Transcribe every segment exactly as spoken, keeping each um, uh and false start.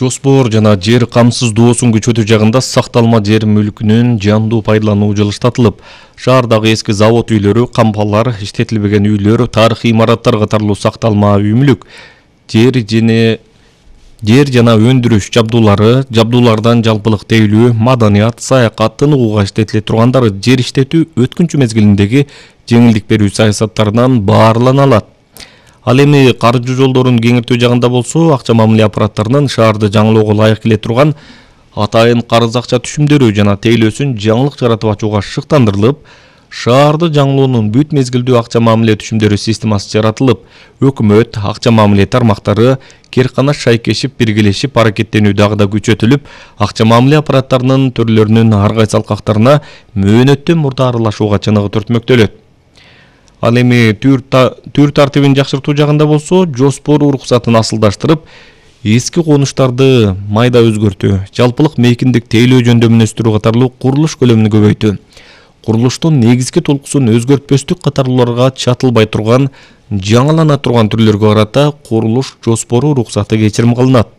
Жоспор жана жер камсыздоосун күчөтүү жагында сакталма жер мүлкүнүн жандуу пайдалануу жылыштатылып, шаардагы эски завод үйлөрү, кампалар, иштетилбеген үйлөр, тарыхый имараттар катарлуу сакталма үй мүлк, жер жене жер жана өндүрүш жабдуулары, жабдуулардан жалпылык тейлүү, маданият, саякат, тыныгууга иштетиле тургандары жер иштетүү өткүнчү мезгилиндеги жеңилдик берүү саясаттарынан баарлана алат. Ал эми каржы жолдорун кеңиртүү жагында болсо, акча мамиле аппараттарынын шаарды жаңылоого ылайык келе турган атайын карыз акча түшүмдөрү жана тейлөөсүн жаңылык жаратып ачууга шыктандырылып, шаарды жаңылоонун бүт мезгилдүү акча мамиле түшүмдөрү системасы жаратылып, өкмөт, акча мамиле тармактары керкана шайкешип биргелешип аракеттенүү дагы да күчөтүлүп, акча мамиле аппараттарынын төрлөрүнүн ар кайсы алкактарына мөөнөттөн мурда аралашууга чыныгы түртмөктөлөт. Ал эми түр тартибин жакшыртуу жагында болсо, жоспор уруксатын асылдаштырып, эски конуштарды майда өзгөртүү, жалпылык мейкиндик тейлөө жөндөмүн өстүрүү катарлуу курулуш көлөмүн көбөйтүү, курулуштун негизги толкусун өзгөртпөстүк катарлууларга чатылбай турган, жаңылана турган түрлөргө карата курулуш жоспору уруксаты кечирим кылынат.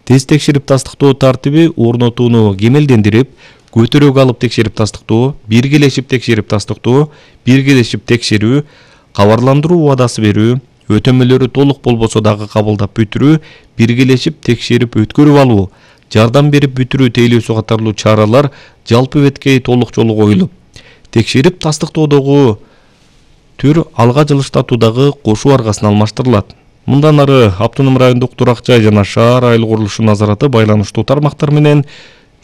Тез текшерип тастыктоо тартиби орнотууну кемелдендирип, көтөрөөгө алып текшерип тастыктоо, биргелешип текшерип тастыктоо, биргелешип текшерүү, кабарландыруу убадасы берүү, өтөмөлөрү толук болбосо дагы кабылдап бүтүрүү, биргелешип текшерип өткөрүп алуу, жардам берип бүтүрүү тейлөөсү катарлуу чаралар жалпы беткей толук жолу коюлуп, текшерип тастыктоодогу түр алга жылыштатуудагы кошуу аргасын алмаштырылат. Мындан ары Автоном райондук Турак жай жана шаар айыл курулушу назараты байланыштуу тармактар менен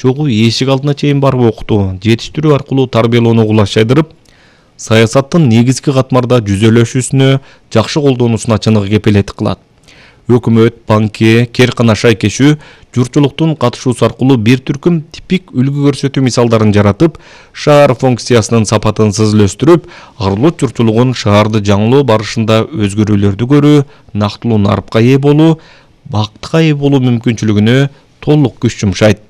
чогуу эшик алдына чейин барып окутуу, жетиштирүү аркылуу тарбиялоону кулачайдырып, саясаттын негизги катмарда жүзөлөшүүсүнө, жакшы колдонуусуна чыныгы кепилет кылат. Өкмөт, банке, керкана шайкешүү журтчулуктун катышуусу аркылуу бир түркүм типик үлгү көрсөтүү мисалдарын жаратып, шаар функциясынын сапатын сызылөстүрүп, арылык журтчулугун шаарды жаңылоо барышында өзгөрүүлөрдү көрүү, нактылуу нарыпка ээ болуу, бактка ээ болуу мүмкүнчүлүгүнө толук күч жумшайт.